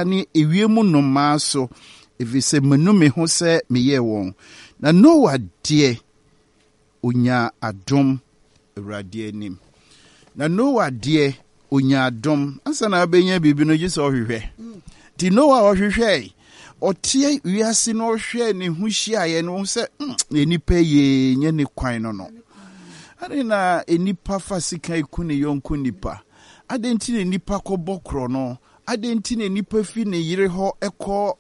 wea ne ewiem nnomaa so, ɛfiri sɛ manu me ho sɛ meyɛɛ wɔn. Na Noa deɛ, ɔnyaa adom Awurade anim. Na Noa deɛ, ɔnyaa adom. Ansa na wobɛnya biribi no, gye sɛ ɔhwehwɛ. Nti Noa ɔhwehwɛe. Ɔteɛ wiase no ɔhwɛɛ ne ho hyiaeɛ no, ɔhu sɛ nnipa yie nyɛ ne kwan no no. Adɛn na nnipa fa sekan ku ne yɔnko nnipa? Adɛn nti na nnipa kɔbɔ korɔno? Adɛn nti na nnipa fi ne yere hɔ kɔ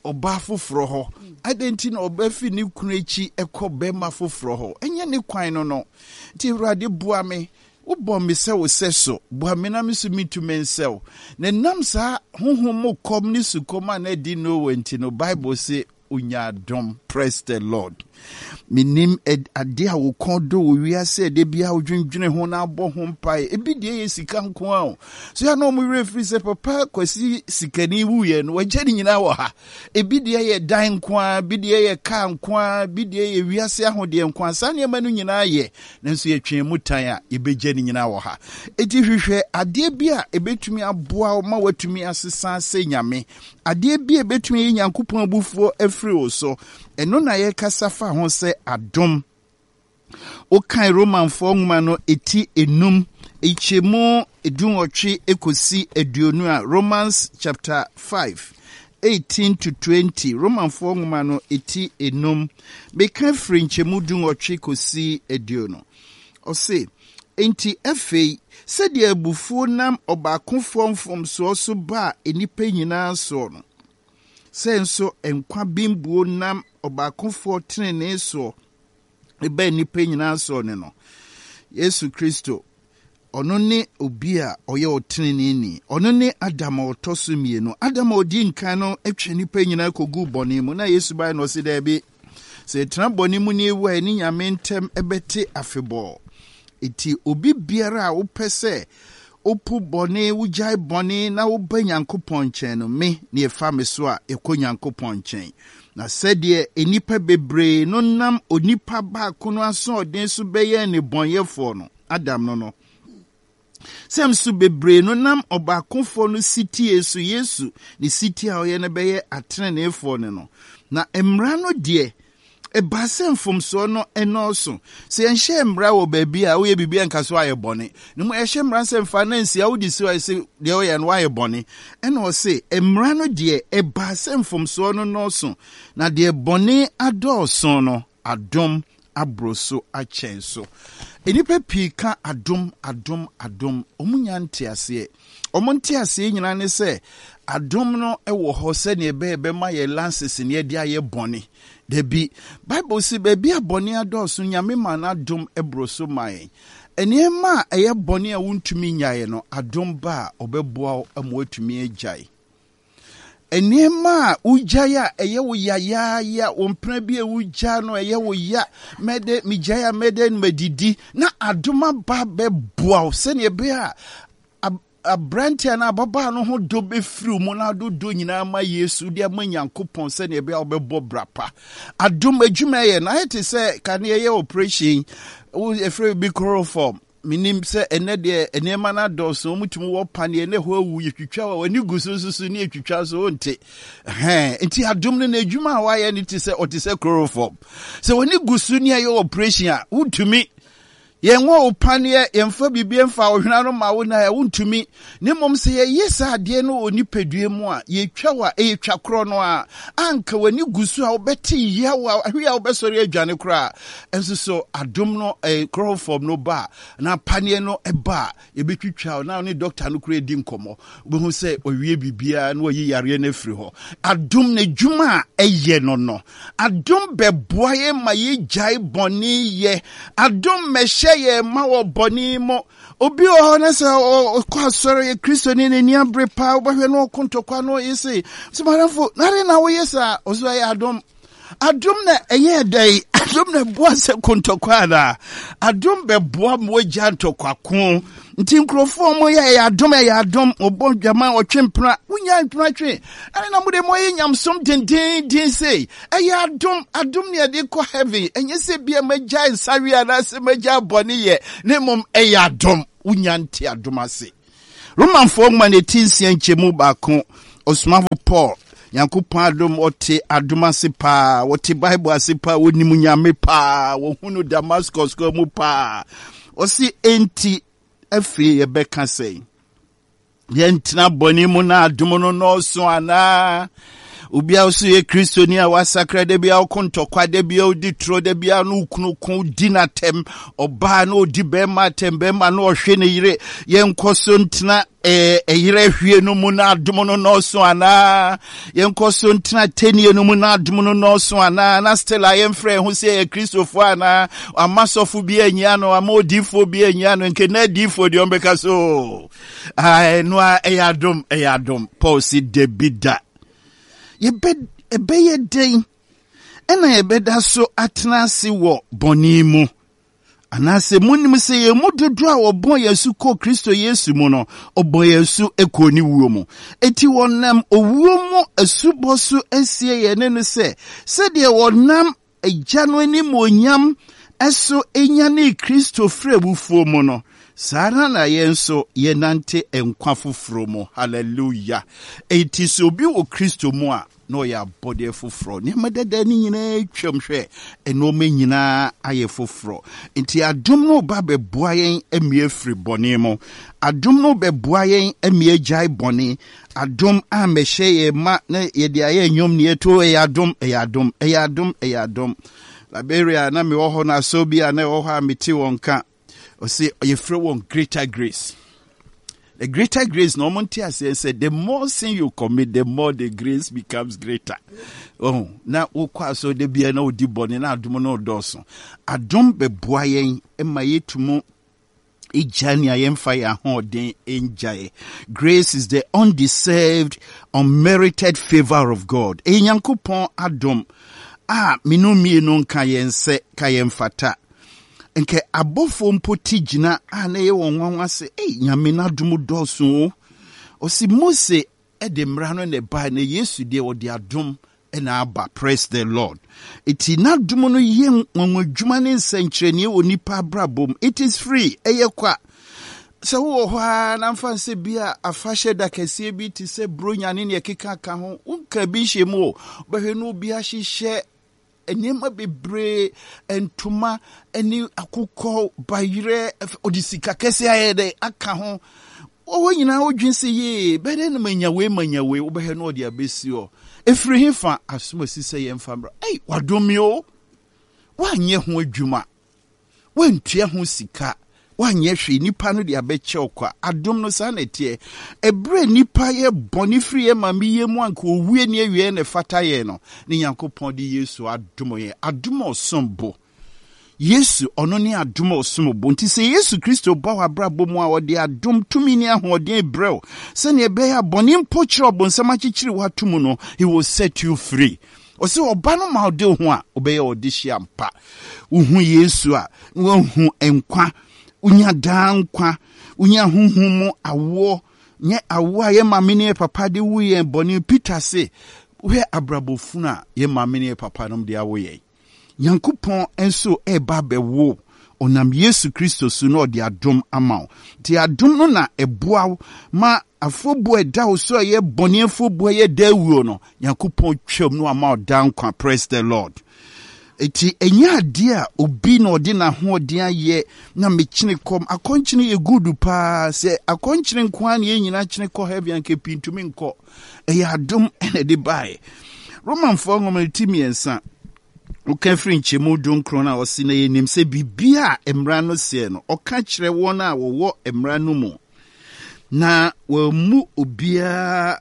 ɔbaa foforɔ hɔ? Adɛn nti na ɔbaa fi ne kunu akyi kɔ bɛrima foforɔ hɔ? Ɛnyɛ ne kwan no no. Nti Awurade boa me. Wobɔ me sɛ wo sɛso. Boa me na me nso mentumi nsɛ wo. Na ɛnam saa honhom mu kɔm ne sukɔm a na adi Noa nti no, Bible se Onya adom. Praise the Lord. Menim ade a wo kɔn dɔ wɔ wiase a da biara wodwendwene ho na abɔ ho mpae. Ebi deɛ yɛ sika nko ara o. So yɛ na wɔn werɛ firi sɛ papa Kwasi sikani wuiɛ no wagya ne nyinaa wɔ ha. Ebi deɛ yɛ dan nko ara, ebi deɛ yɛ kaa nko ara, ebi deɛ yɛ wiase ahodeɛ nko ara. Saa nneɛma no nyinaa yɛ, nanso yɛtwɛn mu tan a yɛbɛgya ne nyinaa wɔ ha. Eti hwehwɛ adeɛ bi a ebetumi aboa wo ma woatumi asesa sɛ Nyame. Adeɛ bi a ɛbɛtumi ayi Nyankopɔn abufuo afiri wo so, ɛno na yɛkasa fa ho sɛ adom. Wokan Romanfoɔ nwoma no ɛti enum, nkyɛmu dunwɔtwe kɔsi aduonu a, Romans chapter 5, 18 to 20, Romanfoɔ nwoma no ɛti enum, meka firi nkyɛmu dunwɔtwe kɔsi aduonu. Ɔse, Enti afei, sɛdeɛ abufuo nam ɔbaakofoɔ mfomsoɔ so baa nnipa nyinaa soɔ no, sɛ nso nkwa bembuo nam ɔbaakofoɔ tenenee soɔ baa nnipa nyinaa soɔ ne no. Yesu Kristo, ɔno ne obi a ɔyɛ ɔteneneeni. Ɔno ne Adam a ɔtɔ so mmienu. Adam a ɔdi nkan no twe nnipa nyinaa kɔguu bɔne mu. Na Yesu bae na ɔse daabi. Sɛ yɛtena bɔne mu na yɛwu a, yɛne Nyame ntam bɛte afebɔɔ. Enti obi biara a wopɛ sɛ wopo bɔne, wogyae bɔne na woba Nyankopɔn nkyɛn no, me ne ɛfa me so a, yɛkɔ Nyankopɔn nkyɛn. Na sɛdeɛ nnipa bebree no nam onipa baako no asoɔden so bɛyɛɛ nnebɔneyɛfoɔ no, Adam no no, Sɛ nso bebree no nam ɔbaakofoɔ no setie so, Yesu, ne setie a ɔyɛ no bɛyɛ ateneneefoɔ no no. Na mmara no deɛ, ɛbaa sɛ mfomsoɔ no nnɔɔso. Sɛ yɛnhyɛɛ mmara wɔ baabi a, woyɛ biribi a nka so ayɛ bɔne. Na mmom yɛhyɛ mmara sɛ mfa na nsia, wode si hɔ a, ɛsɛ deɛ woyɛ no woayɛ bɔne. Ɛna ɔse, mmara no deɛ, ɛbaa sɛ mfomsoɔ no nnɔɔso, na deɛ bɔne adɔɔso no, Adom aboro so akyɛn so. Nnipa pii ka adom, adom, adom. Wɔnnya nteaseɛ. Wɔn nteaseɛ nyinaa ne sɛ adom no wɔ hɔ sɛdeɛ ɛbɛyɛ bɛma yɛn lances ne yɛde ayɛ bɔne. Dabi, Bible se baabi a bɔne adɔɔso no, Nyame maa n'adom boro so maa yɛn. Nneɛma a ɛyɛ bɔne a wontumi nnyaeɛ no, adom ba a, ɔbɛboa wo ama woatumi agyae. Nneɛma a wogyae a ɛyɛ wo yayaaya, wo mpena bi a wogyaa no ɛyɛ wo ya, mɛdɛ megyae a mɛdɛ no madidi, na adom aba bɛboa wo sɛnea ɛbɛyɛ a aberante anaa ababaa no ho dɔ bɛfiri mu na ado dɔ nyinaa ma Yesu de ama Nyankopɔn sɛnea ɛbɛyɛ a wobɛbɔ bra pa. Adom adwuma ɛyɛ no ayɛ te sɛ kane ɛyɛ operation, ɛfrɛ bi chloroform. Menim sɛ ɛnnɛ deɛ nneɛma no adɔɔso, wɔtumi wɔ paneɛ na ɛhɔ awu, yɛtwitwa wɔ ani gu so nso so ne yɛtwitwa so wonte. Hɛn, nti adom no n'adwuma a wayɛ no te sɛ ɔte sɛ chloroform. Sɛ w'ani gu so ne ɛyɛ operation a, wontumi. Yɛnwɔ wo paneɛ, yɛmfa biribi mfa wo hwena no ma wo na wontumi. Na mmom sɛ yɛyɛ saa adeɛ no wɔ nipadua mu a, yɛtwa wo a, ɛyɛ twa korɔ no a, anka w'ani gu so a wobɛte yaw a, ahwe a wobɛsɔre adwane koraa. Nso so adom no, eh, chloroform no ba a, na paneɛ no ba a, yɛbɛtwitwa wo na wo ne dɔkta no koraa adi nkɔmmɔ. Wobɛhu sɛ wawie biribiara na wayi yareɛ no afiri hɔ. Adom no adwuma a ɛyɛ no no, adom bɛboa yɛn ma yɛgyae bɔne yɛ. Adom mmɛhyɛ yɛn ma wɔ bɔne mu. Obi wɔ hɔ na sɛ ɔkɔ asɔre yɛ Kristoni n'ani abere paa, wobɛhwɛ no ɔko ntɔkwa no ɔyɛ sei. Sɛ madamfo, na adɛn na woyɛ saa? Ɔso ɛyɛ adom. Adom na ɛyɛ dɛn? Adom na ɛboa sɛ ko ntɔkwa anaa? Adom bɛboa ma wagya ntɔkwa ko. Nti nkurɔfoɔ ɔmo yɛ ɛyɛ adom ɛyɛ adom, ɔbɔ dwama ɔtwe mpena, wonya mpena twe. Ɛne na mode mo ayɛ nyamsom dendenden sei. Ɛyɛ adom, adom ne yɛde kɔ heaven. Ɛnyɛ sɛ bia magyae nsawe anaasɛ magyae bɔne yɛ, na mmom ɛyɛ adom. Wonya nte adom ase. Romanfoɔ nwoma no ti nsia nkyɛmu baako. Ɔsomafo Paul, Nyankopɔn adom, ɔte adom ase paa, ɔte Bible ase paa, ɔnim Nyame paa, wɔhu no Damascus kwan mu paa. Ɔse, enti afei yɛbɛka sɛn? Yɛntena bɔne mu na adom no nnɔɔso anaa? Obi a ɔso yɛ Kristoni a wasakra da bi a ɔko ntɔkwa, da bi a ɔdi toro, da bi a no kunu ko di n'atɛm, ɔbaa na ɔdi bɛrima atɛm, bɛrima na ɔhwe ne yere. Yɛnkɔ so ntena ɛyerɛ hwie no mu na adom no nnɔɔso anaa? Yɛnkɔ so ntena tɛnie no mu na adom no nnɔɔso anaa? Na still a yɛmfrɛ yɛn ho sɛ yɛyɛ Kristofoɔ anaa? Ama sɔfo bi anyia no, ama odiifoɔ bi anyia no, nke na adiifoɔ deɛ ɔmbɛka so. Ɛno a ɛyɛ adom, ɛyɛ adom. Paul si dabi da. Yɛbɛ ɛbɛyɛ dɛn ɛna yɛbɛda so atena ase wɔ bɔne mu? Anaasɛ monim sɛ yɛn mu dodoɔ a wɔbɔɔ yɛn asu kɔɔ Kristo Yesu mu no, ɔbɔɔ yɛn asu kɔɔ ne wuo mu? Enti wɔnam owuo mu asubɔ so asie yɛn ne no sɛ, sɛdeɛ wɔnam Agya no animuonyam so nyanee Kristo firii awufoɔ mu no, saa ara na yɛn nso yɛnante nkwa foforɔ mu. Hallelujah! Enti sɛ obi wɔ Kristo mu a, na ɔyɛ abɔdeɛ foforɔ. Nneɛma dada no nyinaa atwam, hwɛ, nneɛma nyinaa ayɛ foforɔ. Nti adom no ba bɛboa yɛn amia afiri bɔne mu. Adom no bɛboa yɛn amia agyae bɔne. Adom a mɛhyɛ yɛn ma na yɛde ayɛ nnwom ne yɛto ɛyɛ adom, ɛyɛ adom, ɛyɛ adom, ɛyɛ adom. Liberia na mewɔ hɔ no asɔ bi a na ɛwɔ hɔ a mete wɔn ka. Ɔse yɛfrɛ wɔn Greater Grace. The greater grace na wɔn nte aseɛ sɛ the more sin you commit the more the grace becomes greater. Oh, na wokɔ asɔ de bia na wodi bɔne na adom no dɔɔso. Adom bɛboa yɛn ma yɛtumu gya nea yɛmfa yɛn ahoɔden ngyae. Grace is the undeserved, unmerited favor of God. Ɛyɛ Nyankopɔn adom a menu mmienu nka yɛn sɛ ka yɛn fata. Nkɛ abɔfoɔ mpo ti gyina a na ɛyɛ wɔn nwanwa sɛ, ei, Nyame n'adom dɔɔso o. Ɔsi Mose de mmara no na ɛbae, na Yesu deɛ ɔde adom na aba. Praise the Lord. Eti n'adom no yɛ nwanwadwuma ne nsɛnkyerɛnneɛ wɔ nipa abrabɔ mu. It is free, ɛyɛ kwa. Sɛ wowɔ hɔ ara na mfa nsɛ bi a afahyɛ da kɛseɛ bi te sɛ Buronya ne nea ɛkeka ka ho, wonka bi nhyɛ mu o. Wobɛhwɛ na obi ahyehyɛ nneɛma bebree, ntoma ne akokɔ, bayerɛ, ɔde sika kɛse ayɛ dɛ aka ho. Wɔwɔ nyinaa wodwen sɛ yee, bɛyɛ dɛ na manya wei manya wei, wobɛhwɛ na ɔde abɛsi hɔ. Ɛfiri he fa asom asi sɛ yɛmfa mmra. Ei, wadom me o! Woanyɛ ho adwuma. Woantua ho sika, woanyɛ hwee, nnipa no de abɛkyɛ wo kwa. Adom no, saa na ɛteɛ. Ɛberɛ a nnipa yɛ bɔne firi yɛn maame yam mu anka owuo ne awieɛ na ɛfata yɛn no, ne Nyankopɔn de Yesu adom yɛn. Adom a ɔsom bo. Yesu, ɔno ne adom a ɔsom bo. Nti sɛ Yesu Kristo ba w'abrabɔ mu a, ɔde adom, tumi ne ahoɔden brɛ wo, sɛnea ɛbɛyɛ a bɔne mpo kyerɛ ɔbonsam akyekyere wo ato mu no, he will set you free. Ɔse ɔba no ma ɔde wo ho a, wobɛyɛ ɔdehye ampa. Wohu Yesu a, na woahu nkwa. Wonya daa nkwa. Wonya honhom mu awoɔ. Nyɛ awoɔ a yɛn maame ne yɛn papa de wo yɛn bɔne. Peter se, wohwɛ abrabɔ funu a yɛn maame ne yɛn papa nom de awo yɛn. Nyankopɔn nso reba abɛwo ɔnam Yesu Kristo so na ɔde adom ama wo. Nti adom no na ɛboa wo ma afɔbuo a ɛda wo so a ɛyɛ bɔne afɔbuo a ɛyɛ daa wuo no, Nyankopɔn twam na wama wo daa nkwa. Praise the Lord. Eti ɛnyɛ adeɛ a obi na ɔde n'ahoɔden ayɛ na mekyene kɔm. Akɔnkyene yɛ good paa. Sɛ akɔnkyene nko ara na yɛn nyinaa kyene kɔ heaven anka pii ntumi nkɔ. Ɛyɛ adom na ɛde baeɛ. Romanfoɔ nwoma no ti mmiɛnsa, woka firi nkyɛmu dunkron a ɔse na yɛnim sɛ biribiara a mmara no seɛ no, ɔka kyerɛ wɔn a wɔwɔ mmara no mu na wɔammu obiara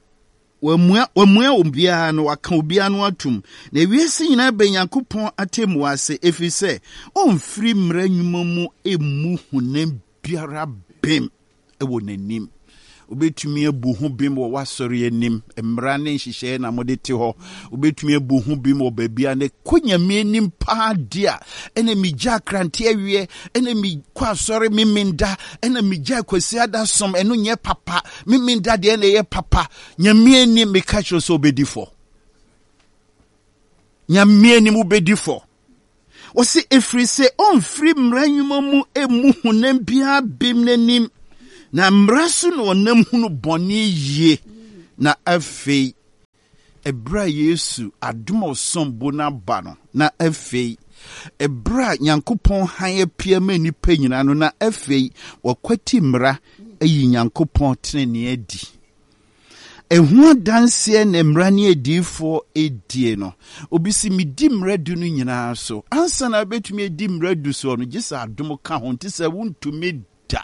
Wammua, wammua obiara no, waka obiara no atom. Na wiase nyinaa bɛ Nyankopɔn atemmuo ase, ɛfiri sɛ ɔmfiri mmara nnwuma mu mmu honam biara bem wɔ n'anim. Wobɛtumi abu ho bem wɔ w'asɔre anim, mmara ne nhyehyɛeɛ na mode te hɔ. Wobɛtumi abu ho bem wɔ baabi a na kɔ Nyame anim paa di a, ɛna megya akrante awiɛ, ɛna mekɔ asɔre memenda, ɛna megya Kwasiada som, ɛno nyɛ papa. Memenda deɛ na ɛyɛ papa. Nyame anim meka kyerɛ sɛ wobɛdi fɔ. Nyame anim wobɛdi fɔ. Wɔsi ɛfiri sɛ ɔmfiri mmara nnwuma mu mmu honam biara bem n'anim, na mmara so na ɔnam hunu bɔne yie. Na afei, ɛberɛ a Yesu adom a ɔsom bo no aba no, na afei, ɛberɛ a Nyankopɔn hann apue ama nnipa nyinaa no, na afei wɔakwati mmara ayi Nyankopɔn tenenee adi. Ɛho adanseɛ na mmara ne adiyifoɔ die no. Obi se, medi mmara du no nyinaa so. Ansa na wobɛtumi adi mmara du soɔ no, gye sɛ adom ka ho, nti sɛ wontumi da.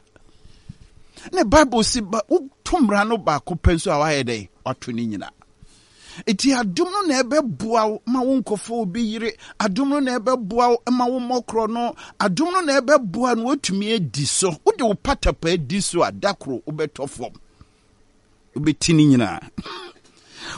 Ne Bible se, ba woto mmara no baako pɛ nso a woayɛ dɛn? Woato ne nyinaa. Enti adom no na ɛbɛboa wo ma wonkɔfa obi yere. Adom no na ɛbɛboa wo ma wommɔ korɔno. Adom no na ɛbɛboa no woatumi adi so. Wode wo patapaa di so a, da koro wobɛtɔ fam. Wobɛti ne nyinaa.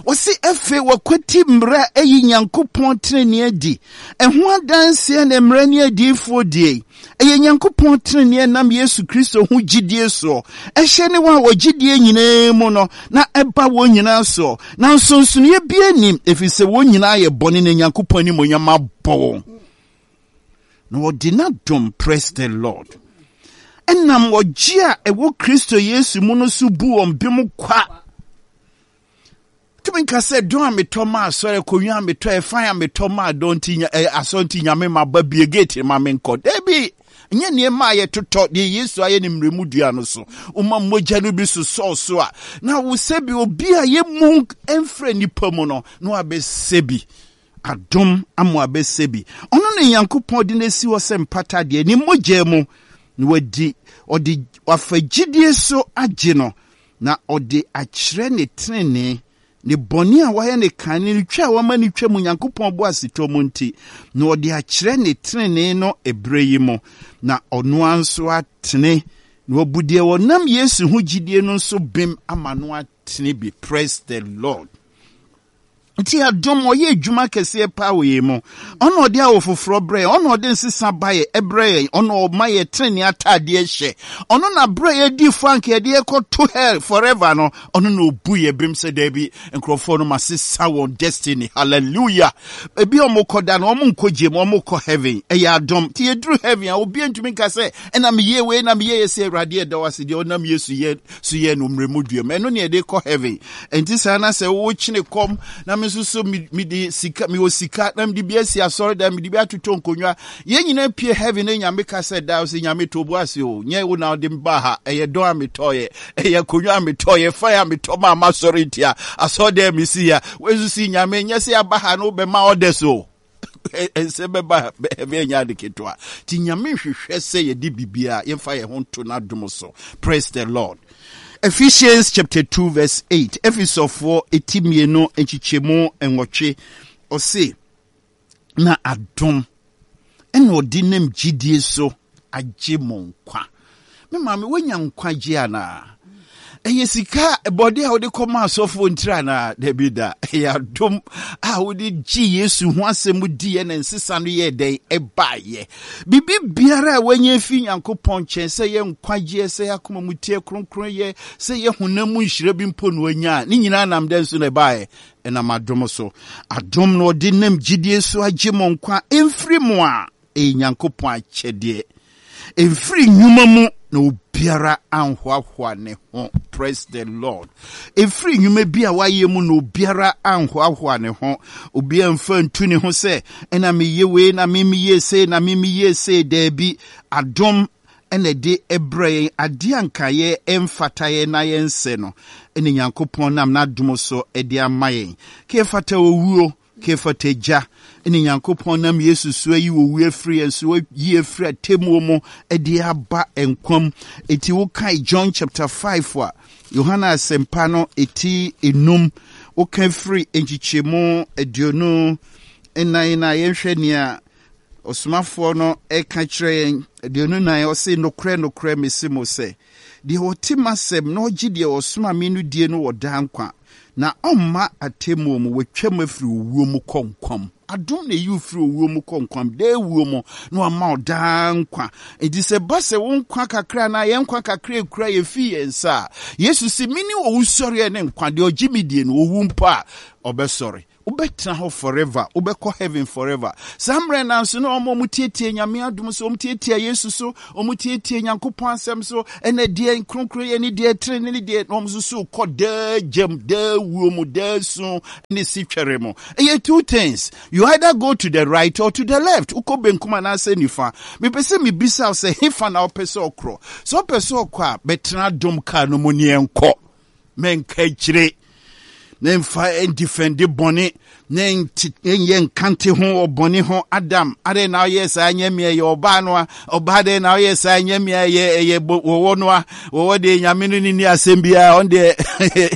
Wɔse afei wɔkwati mmara ayi Nyankopɔn tenenee adi. Ɛho adanseɛ na mmara ne adiyifoɔ die. Ɛyɛ Nyankopɔn tenenee nam Yesu Kristo ho gyidie soɔ. Ɛhyɛ ne wɔn a wɔgye die nyinaa mu no, na ɛba wɔn nyinaa soɔ. Na nsonsonoeɛ biara nnim, ɛfiri sɛ wɔn nyinaa ayɛ bɔne na Nyankopɔn animuonyam abɔ wɔn. Na wɔde n'adom, praise the Lord, ɛnam ɔgye a ɛwɔ Kristo Yesu mu no so bu wɔn bem kwa. Tumi nka sɛ dɔn a metɔ ma asɔre, akonnwa a metɔ, ɛfan a metɔ ma dɔn nti asɔre nti nyame ma ba bie gate ma menkɔ. Dabi, nyɛ nneɛma a yɛtotɔ deɛ Yesu ayɛ ne mmerɛmu dua no so. Woma mogya no bi sosɔɔ so a, na wo sɛ bi obi a yɛmu mfrɛ nipa mu no, na wabɛsɛ bi. Adom ama wabɛsɛ bi. Ɔno na Nyankopɔn de no asi hɔ sɛ mpata deɛ, ne mogya mu na wadi, ɔde wafa gyidie so agye no Na ɔde akyerɛ ne trenee, ne bɔne a wayɛ no kan ne ne twa a wama no twam Onyankopɔn boasetɔ mu nti, na ɔde akyerɛ ne trenee no ɛberɛ yi mu, na ɔno ara nso atene, na wabu deɛ ɔnam Yesu ho gyidie no nso bem ama no atene bi. Praise the Lord. Nti adom ɔyɛ adwuma kɛseɛ paa wɔ yɛn mu. Ɔna ɔde awo foforɔ brɛ yɛn, ɔna ɔde nsesa ba yɛ ɛbrɛ yɛn, ɔna ɔma yɛ tenenee ataadeɛ hyɛ. Ɔno na berɛ a yɛdi fɔ anka yɛde yɛkɔto hell forever no, ɔno na ɔbu yɛ bem sɛ daabi, nkurɔfoɔ no masesa wɔn destiny. Hallelujah! Ebi a wɔkɔ da no, wɔn nkɔ gye mu, wɔn kɔ heaven. Ɛyɛ adom. Nti yɛduru heaven a, obi ntumi nka sɛ, ɛna meyɛ wei na meyɛ yɛ sɛ Awurade ɛda wo ase deɛ ɔnam Yesu yɛ so yɛ no mmerɛ mu duam. Ɛno ne yɛde kɔ heaven. Ɛnti saa na sɛ wokyene kɔm na me nso so mede sika mewɔ sika na mede bi asi asɔredan mede bi atotɔ nkonnwa yɛn nyinaa pie heaven na nyame ka sɛ daa sɛ nyame to bo ase o nyɛ wo na wode ba ha ɛyɛ dɔn a metɔɔyɛ ɛyɛ akonnwa a metɔɔyɛ fan a metɔ ma ama asɔre ntia asɔredan mesi ya wɔnso si nyame nyɛ sɛ aba ha no wobɛma orders o ɛnsɛ bɛba heaven ɛnyɛ ade ketewa nti nyame nhwehwɛ sɛ yɛde biribiara yɛmfa yɛn ho nto n'adom so. Praise the Lord. Ephesians chapter 2 verse 8 Efesofoɔ eti mmienu nkyekyɛmu nwɔtwe ɔse na adom ɛna ɔde nam gyidie so agye mo nkwa. Me maame, woanya nkwagye anaa? Ɛyɛ sika bɔde a wode kɔma asɔfoɔ ntiri anaa? Dabi da. Ɛyɛ adom a wode gye Yesu ho asɛm diiɛ na nsesa no yɛɛ dɛn? Ɛbaeɛ. Biribi biara a woanya afi Nyankopɔn nkyɛn, sɛ ɛyɛ nkwagyeɛ, sɛ ɛyɛ akoma mu teɛ, kronkronyɛ, sɛ ɛyɛ honam mu nhyira bi mpo na woanya a, ne nyinaa nam dɛn so na ɛbaeɛ? Ɛnam adom so. Adom na ɔde nam gyidie so agye mo nkwa, ɛmfiri mo a ɛyɛ Nyankopɔn akyɛdeɛ. Ɛmfiri nnwuma mu na obiara anhoahoa ne ho. Praise the Lord. Ɛmfiri nnwuma bi a wayɛ mu na obiara anhoahoa ne ho. Obiara mfa ntu ne ho sɛ, ɛna meyɛ wei, na me meyɛ sei, na me meyɛ sei. Daabi, adom ɛna ɛde ɛbrɛ yɛn adeɛ a nka yɛ ɛmfata yɛn na yɛnsɛ no, ɛna Nyankopɔn nam n'adom so ɛde ama yɛn. Ka ɛfata owuo, Kefat Agya ne Nyankopɔn nam Yesu so ayi owu afiri yɛn so, ayi afiri atemmuo mu de aba nkwa mu. Enti wokae John chapter 5 a, Yohana asɛmpa no eti enum, woka firi nkyekyɛmu 24 no a, yɛnhwɛ nea ɔsomafoɔ no ɛka kyerɛ yɛn. 24, ɔse, Nokorɛ, nokorɛ, mese mo sɛ, Deɛ ɔte m'asɛm na ɔgye deɛ ɔsoma me no die no wɔ daa nkwa, na ɔmma atemmuo mu, watwam afiri owuo mu kɔ nkwa mu. Adom na ɛyi wo firi owuo mu kɔ nkwa mu, daa wuo mu, na wama wo daa nkwa. Enti sɛ ɛba sɛ wo nkwa kakra anaa yɛn nkwa kakra ekura yɛn fi yɛn nsa a, Yesu se, Mene owusɔreɛ ne nkwa, deɛ ɔgye me die no, ɔwu mpo a, ɔbɛsɔre. Wobɛtena hɔ forever, wobɛkɔ heaven forever. Saa mmerɛ no nso na wɔn a wɔtiatia Nyame adom so, wɔn tiatia Yesu so, wɔn tiatia Nyankopɔn asɛm so, ɛna deɛ kronkron yɛ ne deɛ tene ne deɛ, na wɔn nso so kɔ daa gyam, daa wuo mu, daa su ne sitwɛre mu. Ɛyɛ two things. You either go to the right or to the left. Wokɔ benkum anaasɛ nifa. Mepɛ sɛ mebisa wo sɛ hefa na wopɛ sɛ ɔkorɔ? Sɛ wopɛ sɛ ɔkɔ a, bɛtena adom kaa no mu ne yɛnkɔ. Mɛnka akyire. Na mfa ndifɛnde bɔne na nyɛ nkante ho wɔ bɔne ho. Adam, adɛn na ɔyɛ saa nyɛ me ɛyɛ ɔbaa no a? Ɔbaa dɛn na ɔyɛ saa nyɛ me ɛyɛ ɛyɛ wɔwɔ no a? Wɔwɔ deɛ nyame no ne ni asɛm biara, ɔn deɛ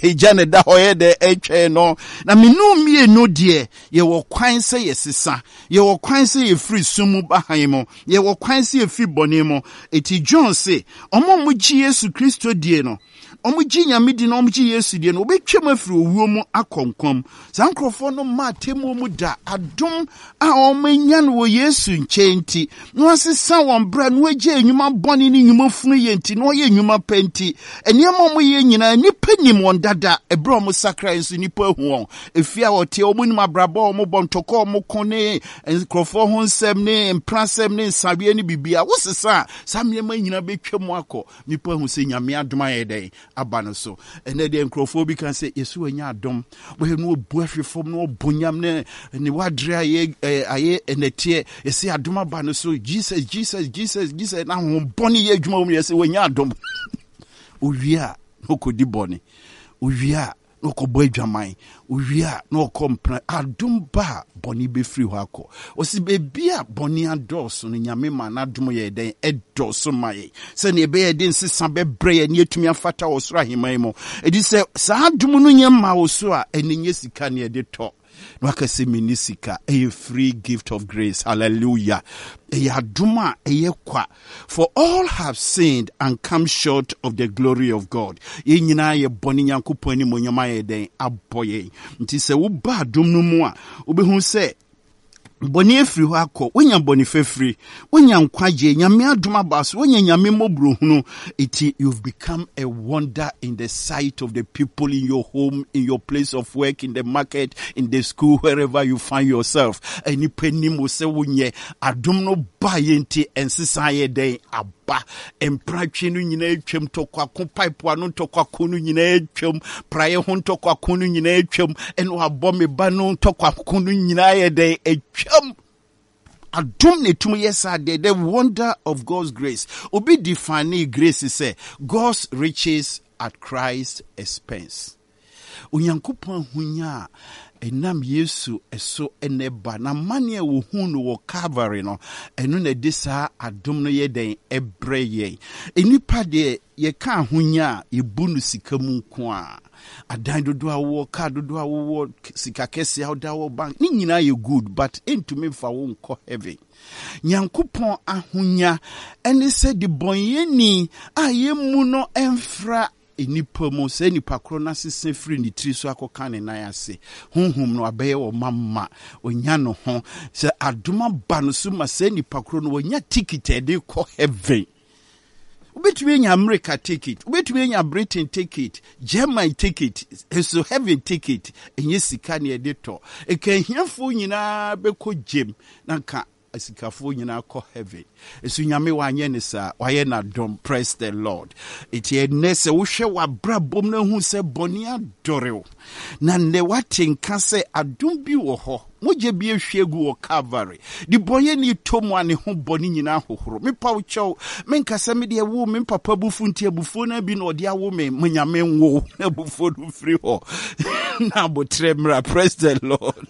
egya na ɛda hɔ yɛ dɛ ɛtwɛn no. Na me no mmienu deɛ yɛwɔ kwan sɛ yɛsesa, yɛwɔ kwan sɛ yɛfiri sum mu ba hann mu, yɛwɔ kwan sɛ yɛfiri bɔne mu. Eti John se, wɔn a wɔgye Yesu Kristo die no, wɔgye Nyame di na wɔgye Yesu die no, wɔbɛtwam afiri owuo mu akɔ nkwa mu. Saa nkurɔfoɔ no mma atemmuo mu da. Adom a wɔanya no wɔ Yesu nkyɛn nti, na wɔasesa wɔn bra na wɔagyae nnwuma bɔne ne nnwuma funu yɛ nti, na wɔyɛ nnwuma pa nti, nneɛma a wɔyɛ nyinaa, nnipa nim wɔn dada. Ɛberɛ a wɔsakrae nso, nnipa ahu wɔn. Efie a wɔteɛ, wɔnim abrabɔ a wɔbɔ, ntɔkwa a wɔko ne nkurɔfoɔ ho nsɛm ne mprasɛm ne nsaweɛ ne biribiara. Wosesa a, saa nneɛma nyinaa bɛtwam akɔ. Nnipa ahu sɛ Nyame adom ayɛ dɛn? Aba no so. Ɛnɛ deɛ nkurɔfoɔ bi ka sɛ Yesu anya adom. Wɔyɛ no ɔbu ahwe fam na ɔbɔ nyam ne ne wadere ayɛ ayɛ ɛnɛteɛ. Yɛsɛ adom aba no so. Jesus, Jesus, Jesus, Jesus. Na honhom bɔne yɛ adwuma wɔ mu. Yɛsɛ wanya adom. Owie a na ɔkɔdi bɔne. Owie a na ɔkɔbɔ adwaman, owie a na ɔkɔ mpena. Adom ba a, bɔne bɛfiri hɔ akɔ. Ɔsi baabi a bɔne adɔɔso no, Nyame ma n'adom yɛ dɛn? Ɛdɔɔso ma yɛn, sɛnea ɛbɛyɛ de nsesa bɛbrɛ yɛn na yɛatumi afata wɔ soro ahemman mu. Ɛdi sɛ saa adom no nyɛ mma wo so a, ɛne nyɛ sika ne ɛde tɔ. Na waka sɛ menni sika. Ɛyɛ free gift of grace. Hallelujah. Ɛyɛ adom a ɛyɛ kwa. For all have sinned and come short of the glory of God. Yɛn nyinaa yɛ bɔne, Nyankopɔn animuonyam ayɛ dɛn? Abɔ yɛn. Nti sɛ woba adom no mu a, wobɛhu sɛ bɔne afiri hɔ akɔ, wonya bɔne fafiri, wonya nkwagye, Nyame adom aba so, wonya Nyame mmɔborɔhunu. Eti you've become a wonder in the sight of the people in your home, in your place of work, in the market, in the school, wherever you find yourself. Nnipa nim wo sɛ wonyɛ. Adom no baeɛ nti nsesa yɛ dɛn aba. Mpratwe no nyinaa atwam, ntɔkwako pipe ano ntɔkwako no nyinaa atwam, praeɛ ho ntɔkwako no nyinaa atwam, ɛna wabɔ me ba no ntɔkwako no nyinaa yɛ dɛn atwam. Adom na ɛtumi yɛ saa deɛ, the wonder of God's grace. Obi define grace sɛ God's riches at Christ's expense. Onyankopɔn ahonya a ɛnam Yesu so na ɛba, n'amane a wɔhuu no wɔ Calvary no, ɛno na ɛde saa adom no yɛ dɛn? Ɛbrɛ yɛn. Nnipa deɛ, yɛka ahonya a, yɛbu no sika mu nko a. Adan dodoɔ a wowɔ, kaa dodoɔ a wowɔ, sika kɛseɛ a woda wɔ bank, ne nyinaa yɛ good, but ɛntumi mfa wo nkɔ heaven. Nyankopɔn ahonya ne sɛ debɔnyɛni a yɛmmu no mfra nnipa mu, saa nipa korɔ no asesa firi ne tiri so akɔka ne nan ase. Honhom no abɛyɛ ɔma ma ɔnya ne ho. Sɛ adom aba no so ma saa nipa korɔ no, wanya tikit a ɛde kɔ heaven. Wobɛtumi anya America ticket, wobɛtumi anya Britain ticket, German ticket, nso heaven ticket, ɛnyɛ sika ne ɛde tɔ. Nka ahiafoɔ nyinaa bɛkɔ gyem na nka Asikafoɔ nyinaa kɔ heaven. Nso Nyame wanyɛ ne saa, wayɛ n'adom. Praise the Lord. Enti ɛnnɛ sɛ wohwɛ w'abrabɔ mu na hu sɛ bɔne adɔre wo, na nnɛ woate nka sɛ adom bi wɔ hɔ, mogya bi ahwie agu wɔ Calvary, de bɔnyɛni tɔ mu a ne ho bɔne nyinaa hohoro. Mepa wo kyɛw, menka sɛ me deɛ woo me papa abufuo nti abufuo no bi na ɔde awo me, ma Nyame nwo abufuo no mfiri hɔ na abotrɛ mmra. Praise the Lord.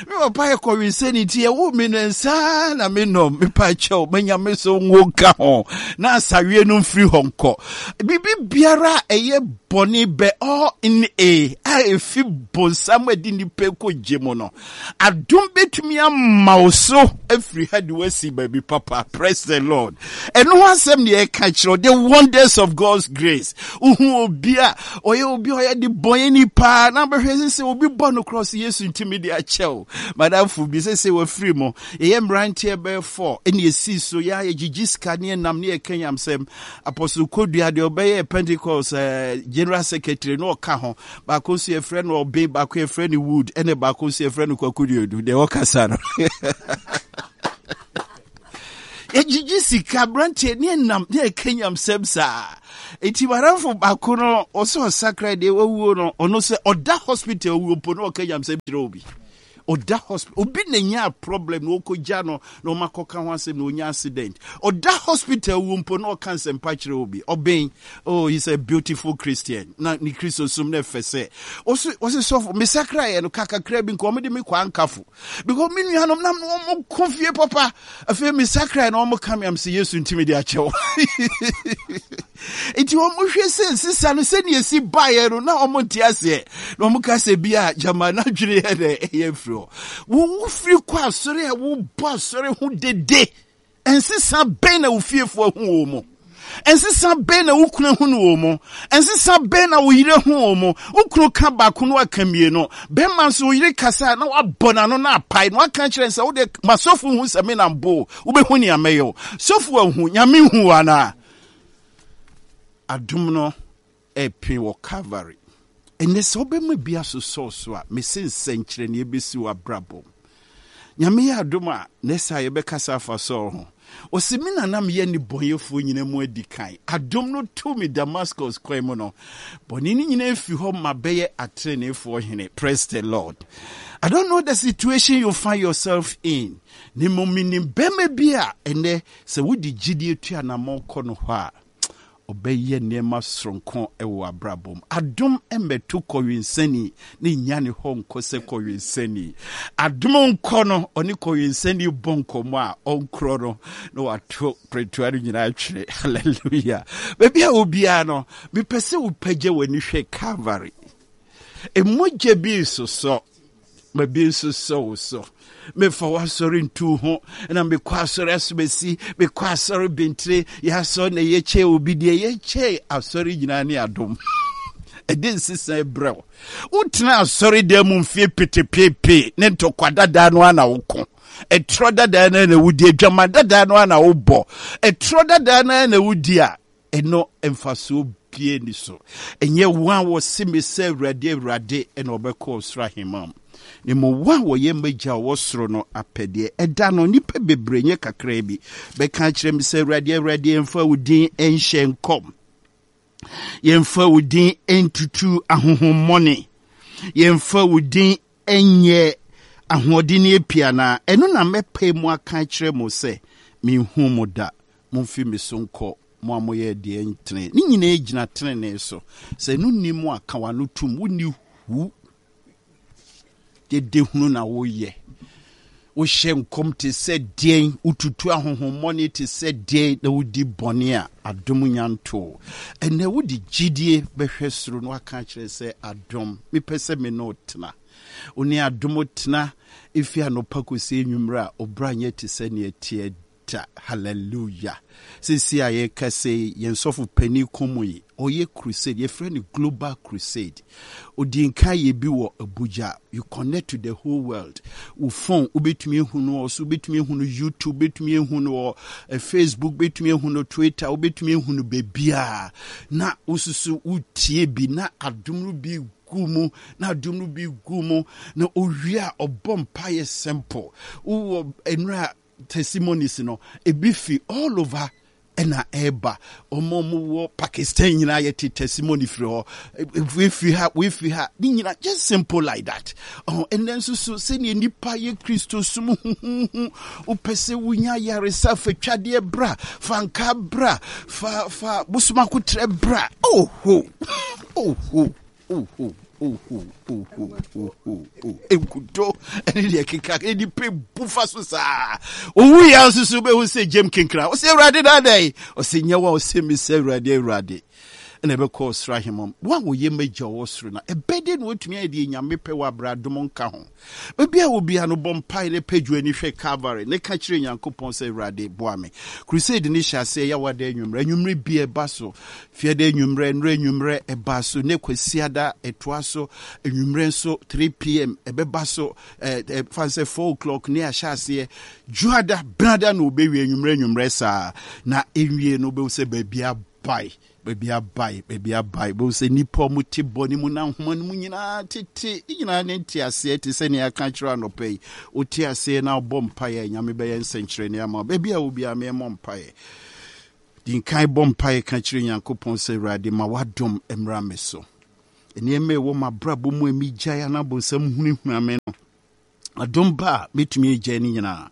Me papa yɛ kɔwensani nti ɛwo me no nsa na menom. Mepa kyɛw, manya me so ngo nka ho na asaweɛ no mfiri hɔ nkɔ. Biribi biara a ɛyɛ bɔne bɛ ɔ n e a ɛfi bonsam adi nnipa kɔ gye mu no, adom bɛtumi ama wo so afiri ha de woasi baabi papa. Praise the Lord. Ɛno ho asɛm ne yɛka kyerɛ, the wonders of God's grace. Wohu obi a ɔyɛ obi a ɔyɛ de bɔnyɛni paa na bɛhwɛ sɛ sɛ obi bɔ no korɔ sɛ Yesu ntumi de akyɛw. Madamfo bi sɛ sɛ wafiri mu. Yɛyɛ mmeranteɛ bɛyɛ fɔ ɛne yɛsii so yɛ a yɛgyegye sika ne yɛnam ne yɛka nyamsɛm. Apostle Kodua deɛ ɔbɛyɛ Pentecost eh, General Secretary na ɔka ho. Baako nso yɛfrɛ no Ɔben, baako yɛfrɛ no Wood, ɛne baako nso yɛfrɛ no Kwaku Duodu deɛ ɔkasa no. Yɛgyegye sika aberanteɛ ne ɛnam ne ɛka nyamsɛm saa. Enti madamfo baako no, ɔsɛ ɔsakra deɛ wawuo no, ɔno sɛ ɔda hospital wuo mpo na ɔka nyamsɛm kyerɛ obi. Ɔda hospital, obi na nya problem na ɔkɔgya no na ɔma kɔka ho asɛm na ɔnya accident. Ɔda hospital wuo mpo na ɔka nsɛmpa kyerɛ obi. Ɔbɛn, oh, he's a beautiful Christian. Na ne Kristosom na ɛfɛ sɛ. Ɔse, ɔse sɔfo, mesakra yɛ no kakakra bi nka ɔmode me kɔ ankafo. Because me nuanom na wɔn ko fie papa. Afei me sakra na wɔn ka me am sɛ Yesu ntumi de akyɛw. Nti wɔn hwɛ sɛ nsesa no sɛnea esi baeɛ no na wɔn nte aseɛ. Na wɔn ka sɛ bi a gyama n'adwene yɛ dɛ ɛyɛ firi hɔ. Wo firi kɔ asɔre a wobɔ asɔre ho dede. Nsesa bɛn na wo fiefo ahu wɔ mu? Nsesa bɛn na wo kunu ahu no wɔ mu? Nsesa bɛn na wo yere ahu wɔ mu? Wo kunu ka baako na waka mmienu. Bɛrima nso, wo yere kasa a na wabɔ n'ano na apae na waka kyerɛ no sɛ, wo deɛ ma sɔfo hu sɛ me na mbɔ o, wobɛhu nea mɛyɛ o. Sɔfo ahu, Nyame hu wo anaa? Adom no ɛpee wɔ Calvary. Ɛnnɛ sɛ wobɛma bi asosɔw so a, mese nsɛnkyerɛnneɛ bɛsi w'abrabɔ mu. Nyame yɛ adom a, next time yɛbɛkasa afa Saul ho. Ɔse me na na meyɛ nnebɔneyɛfoɔ nyina mu adi kan. Adom no too me Damascus kwan mu no, bɔne no nyina afi hɔ ma bɛyɛ atreneefoɔ hene. Praise the Lord. I don't know the situation you find yourself in. Ne mmom menim bɛrima bi a ɛnnɛ sɛ wode gyidie tu anammɔn kɔ no hɔ a, Ɔbɛyɛ nneɛma soronko wɔ w'abrabɔ mu. Adom mmɛto kɔwensani na nnya ne hɔ nkɔ sɛ kɔwensani. Adom nkɔ no, ɔne kɔwensani bɔ nkɔmmɔ a ɔnkorɔ no na wato prɛtoa no nyinaa twere. Hallelujah. Baabi a obiara no, mepɛ sɛ wopagya w'ani hwɛ Calvary. Mogya bi resosɔ. Ma bi nso sɔ wo so. Mefa w'asɔre ntu ho na mekɔ asɔre asomasi, mekɔ asɔre bentire, yɛ asɔre na yɛkyɛ obi deɛ yɛkyɛ asɔre nyinaa ne adom. Ɛde nsesa brɛ wo. Wotena asɔre dan mu mfie petepepe ne ntɔkwa dadaa no ara na woko. Ɛtorɔ dadaa no ara na wodi, adwaman dadaa no ara na wobɔ. Ɛtorɔ dadaa no ara na wodi a, Ɛno mfasoɔ biara nni so. Ɛnyɛ wɔn a wɔse me sɛ Awurade, Awurade na wɔbɛkɔ ɔsoro ahemman mu, na mmom wɔn a wɔyɛ m'Agya a ɔwɔ soro no apɛdeɛ. Ɛda no, nnipa bebree, nyɛ kakraa bi, bɛka akyerɛ me sɛ, Awurade, Awurade, yɛmfa wo din nhyɛ nkɔm, yɛmfa wo din ntutu ahonhommɔne, yɛmfa wo din nyɛ ahoɔdenneɛ pii anaa? Ɛno na mɛpae mu aka akyerɛ mo sɛ, Menhuu mo da. Momfi me so nkɔ, mo a moyɛ deɛ ɛntene. Ne nyinaa gyina tenenee so. Sɛ ɛno nni mu a, ka w'ano tom. Wonni hu. Dede hunu na woyɛ. Wohyɛ nkɔm te sɛ deɛn, wotutu ahonhommɔne te sɛ deɛn, na wodi bɔne a adom nya ntoo. Ɛnnɛ wode gyidie bɛhwɛ soro na woaka akyerɛ sɛ, Adom, mepɛ sɛ me ne wo tena. Wo ne adom tena ɛfiri anɔpa kɔsi anwummerɛ a, wo bra nyɛ te sɛ deɛ ɛteɛ da. Hallelujah. Seesei a yɛrekasa yi, yɛn sɔfo panin Komoyi, ɔyɛ crusade, yɛfrɛ no Global Crusade. Ɔdii nkan yɛ bi wɔ Abuja. You connect to the whole world. Wo phone, wobɛtumi ahu no wɔ so, wobɛtumi ahu no YouTube, wobɛtumi ahu no wɔ eh, Facebook, wobɛtumi ahu no Twitter, wobɛtumi ahu no baabiara. Na wosusu wotie bi na adom no bi gu mu, na adom no bi gu mu, na owie a ɔbɔ mpaeɛ simple. Wowɔ nnura testimonies no ebi fi all over ɛna ɛreba wɔn a wɔwɔ Pakistan nyinaa yɛte testimony firi hɔ wefiri ha wefiri ha ne nyinaa just simple like that ɔho ɛnɛ nso so sɛnea nipa yɛ Kristo som huhuhu wopɛ sɛ wonya yaresa fa twadeɛ bra fa nka bra fa fa bosomakotrɛ bra oho oho Nkuto ne deɛ keka nipa bu fa so saa. Owu yɛ nso so bɛhu sɛ gyam kenkra. Ɔsɛ Awurade na adɛn? Ɔsɛ nyɛ wɔn ɔsɛ mi sɛ Awurade Awurade. Ɛna ɛbɛkɔ ɔsoro ahemam. Wɔn a wɔyɛ m'agya ɔwɔ soro na ɛbɛde na wɔatumi ayɛ deɛ Nyame pɛ wɔ abere adom nka ho. Baabi a obiara no bɔ mpae na pagya ani hwɛ Calvary na ka kyerɛ Nyankopɔn sɛ, Awurade, boa me. Crusade no hyɛ aseɛ Yawada anwummerɛ. Anwummerɛ bi ɛba so. Fiada anwummerɛ, nnora anwummerɛ ɛba so. Ne Kwasiada ɛtoa so. Anwummerɛ nso 3 pm ɛbɛba so. Ɛɛ fa sɛ 4 o'clock ne ahyɛ aseɛ. Dwoada, Benada na wɔbɛwie anwummerɛ anwummerɛ saa. Na ɛnwie no wobɛhu sɛ baabi abae. Baabi abae, baabi abae. Wobɛhu sɛ nnipa a wɔte bɔne mu na nhoma no mu nyinaa tete. Ne nyinaa ne nteaseɛ te sɛ nea aka akyerɛ anɔpa yi. Wote aseɛ na wobɔ mpaeɛ a, Nyame bɛyɛ nsɛnkyerɛnne ama wo. Baabi a wɔ biara, meɛmmɔ mpaeɛ. Di nkan bɔ mpaeɛ ka kyerɛ Nyankopɔn sɛ, Awurade, ma w'adom mmra me so. Nneɛma a ɛwɔ m'abrabɔ mu a megyae anaa bonsam hunahuna me no, adom ba a mɛtumi agyae ne nyinaa.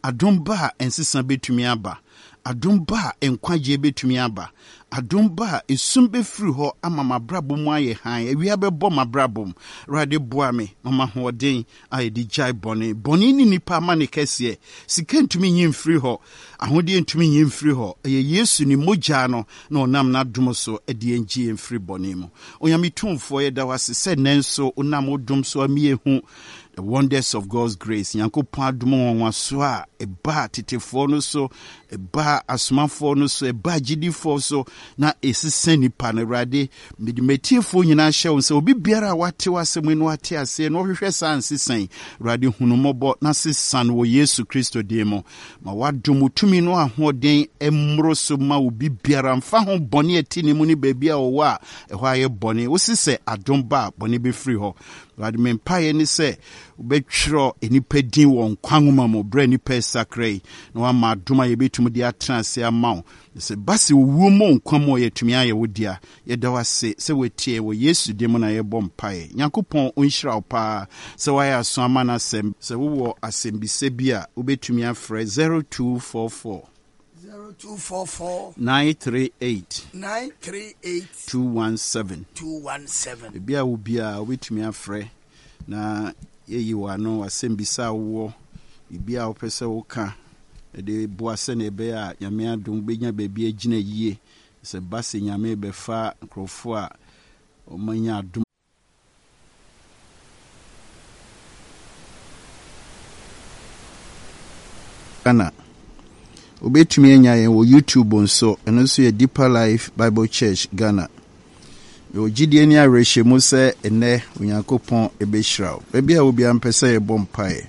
Adom ba a nsesa bɛtumi aba. Adom ba a nkwagyeɛ bɛtumi aba. Adom ba a esum bɛfiri hɔ ama m'abrabɔ mu ayɛ hann. Awia bɛbɔ m'abrabɔ mu. Awurade boa me ma m'ahoɔden a yɛde gyae bɔne. Bɔne ne nnipa amane kɛseɛ. Sika ntumi nyi mfiri hɔ. Ahodeɛ ntumi nyi mfiri hɔ. Ɛyɛ Yesu ne mogya no na ɔnam n'adom so de yɛn gye yɛn firi bɔne mu. Onyame Tumfoɔ, yɛda wo ase sɛ nnɛ nso wonam wo dom so ama yɛahu the wonders of God's grace. Nyankopɔn adom nwanwasoɔ a ɛbaa tetefoɔ no so, ɛbaa asomafoɔ no so, ɛbaa agyidifoɔ so, na ɛsesa nnipa no. Awurade, Mede m'atiefoɔ nyinaa hyɛ wo nsa, obi biara a wate w'asɛm yi na wate aseɛ na ɔhwehwɛ saa nsesa yi, Awurade hu no mmɔbɔ na sesa no wɔ Yesu Kristo din mu. Ma w'adom, wo tumi ne w'ahoɔden mmoro so ma obi biara, mfa ho bɔne a ɛte ne mu ne baabi a ɔwɔ a ɛhɔ ayɛ bɔne. Wose sɛ adom ba a, bɔne bɛfiri hɔ. Awurade, me mpaeɛ ne sɛ wobɛtwerɛ nnipa din wɔ nkwa nwoma mu berɛ a nnipa resakra yi, na woama adom a yɛbɛtumi de atena ase ama wo. Na sɛ ɛba sɛ owuo mmɔ nkwa mu a, yɛatumi ayɛ wo dea. Yɛda wo ase sɛ woatie yɛn. Wɔ Yesu din mu na yɛbɔ mpaeɛ. Nyankopɔn ɔnhyira wo paa sɛ woayɛ aso ama n'asɛm. Sɛ wowɔ asɛmbisa bi a, wobɛtumi afrɛ 0244. 0244. 938. 938. 217. 217. Baabi a wɔ biara wobɛtumi afrɛ na yɛyi wo ano, asɛmbisa a wowɔ, biribi a wopɛ sɛ woka de boa sɛnea ɛbɛyɛ a Nyame adom wobɛnya baabi agyina yie. Sɛ ɛba sɛ Nyame rebɛfa nkurɔfoɔ a wɔanya adom. Ghana. Wobɛtumi anya yɛn wɔ YouTube nso, ɛno nso yɛ Deeper Life Bible Church Ghana. Mewɔ gyidie ne awerɛhyɛmu sɛ ɛnnɛ Onyankopɔn bɛhyira wo. Baabi a wɔ biara mpɛ sɛ yɛbɔ mpaeɛ.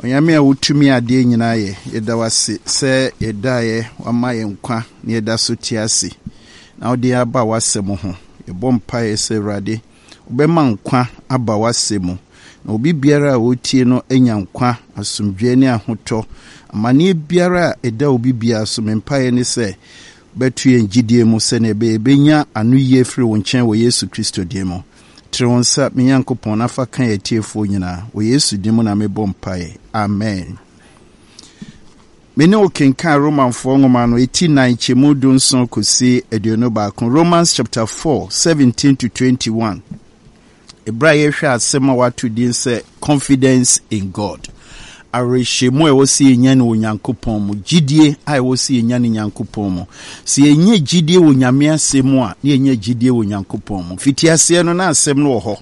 Onyame a wotumi adeɛ nyinaa yɛ, yɛda wo ase sɛ yɛdaeɛ wama yɛn nkwa na yɛda so te ase na wode yɛn aba w'asɛm ho. Yɛbɔ mpaeɛ sɛ Awurade wobɛma nkwa aba w'asɛm mu na obi biara a ɔretie no anya nkwa, asomdwoeɛ ne ahotɔ. Amaneɛ biara a ɛda obi biara so, me mpaeɛ ne sɛ wobɛto yɛn gyidie mu sɛdeɛ ɛbɛyɛ yɛbɛnya anoyie afiri wo nkyɛn wɔ Yesu Kristo din mu. Trɛ wo nsa, me Nyankopɔn, na fa ka yɛn atiefoɔ nyinaa. Wɔ Yesu din mu na mebɔ mpaeɛ. Amen. Me ne wo kenkan Romanfoɔ nwoma no, eti nan, kyɛmu dunson kɔsi 21. Romans chapter 4, 17 to 21. Ɛberɛ a yɛhwɛ asɛm a wɔato din sɛ Confidence in God. Awerɛhyɛmu a ɛwɔ sɛ yɛnya no wɔ Nyankopɔn mu, gyidie a ɛwɔ sɛ yɛnya no Nyankopɔn mu. Sɛ yɛnya gyidie wɔ Nyame asɛm mu a, na yɛnya gyidie wɔ Nyankopɔn mu. Mfitiaseɛ no, na asɛm no wɔ hɔ.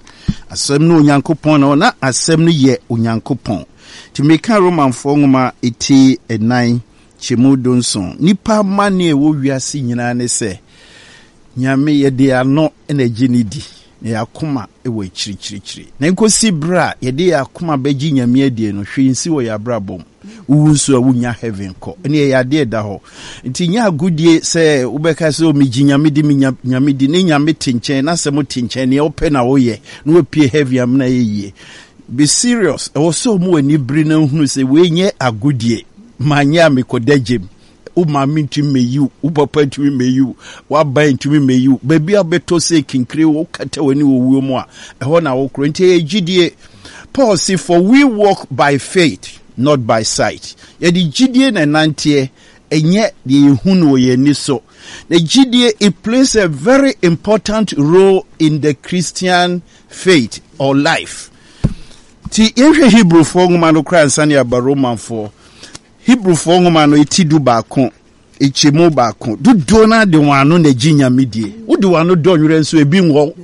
Asɛm no Onyankopɔn na na asɛm no yɛ Onyankopɔn. Nti meka Romanfoɔ nwoma eti nnan kyɛmu dunson. Nnipa amanneɛ a ɛwɔ wiase nyinaa ne sɛ, Nyame, yɛde yɛn ano na ɛgye no di, na yɛn akoma wɔ akyirikyirikyiri. Na nkosi berɛ a yɛde yɛn akoma bɛgye Nyame adie no, hwee nsi wɔ yɛn abrabɔ mu. Wowu nso a, wonnya heaven kɔ. Ɛne ɛyɛ adeɛ ɛda hɔ. Nti nyɛ agodie sɛ wobɛka sɛ, oh, megye Nyame di, menya Nyame di, ne Nyame te nkyɛn, n'asɛm te nkyɛn, neɛ wopɛ na woyɛ, na wapue heaven amena ayɛ yie. Be serious. Ɛwɔ sɛ ɔmo ani bere na hunu sɛ wei nyɛ agodie. Manyɛ a mekɔda gyem. Wo maame ntumi mmɛyi wo, wo papa ntumi mmɛyi wo, w'aban ntumi mmɛyi wo. Baabi a wobɛtɔ sɛ kinkire wokata w'ani wɔ wuo mu a, ɛhɔ na wokorɔ. Nti ɛyɛ gyidie. Paul se, for we walk by faith, not by sight. Yɛde gyidie na ɛnanteɛ, ɛnyɛ deɛ yɛhu no wɔ yɛn ani so. Na gyidie, it plays a very important role in the Christian faith or life. Nti yɛnhwɛ Hebrewfoɔ nwoma no koraa ansa na yɛaba Romanfoɔ. Hebrifoɔ nwoma no ti dubaako, nkyɛmu baako, dodoɔ no ara de wɔn ano na ɛgye Nyame die. Wode wɔn ano dɔ nwerɛ nso ebi nwɔ wo.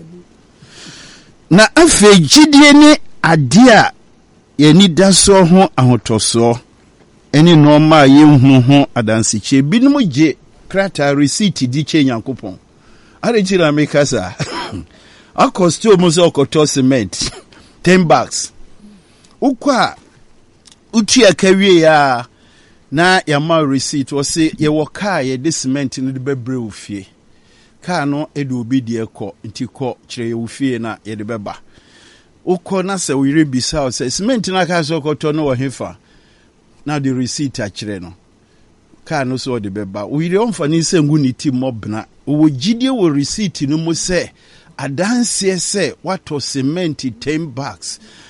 Na afei gyidie ne adeɛ a yɛn ani da soɔ ho ahotɔsoɔ ne nnoɔma a yɛnhunu ho adansekyerɛ. Binom gye krataa receipt di kyɛ Nyankopɔn. Adɛn nti na meka saa? Akɔ store mu sɛ ɔkɔtɔ cement, 10 bags. Wokɔ a Wotua ka wie a, na yɛama wo receipt. Wɔse yɛwɔ kaa a yɛde cement no de bɛbrɛ wo fie. Kaa no de obi deɛ kɔ, nti kɔ kyerɛ yɛ wo fie na yɛde bɛba. Wokɔ na sɛ wo yere bisa wo sɛ cement no aka sɛ ɔkɔtɔ no wɔ hefa, na wode receipt akyerɛ no. Kaa no so ɔde bɛba. Wo yere ɔmfa ne nsa ngu ne ti mmɔ bena. Ɔwɔ gyidie wɔ receipt no mu sɛ adanseɛ sɛ woatɔ cement 10 bags.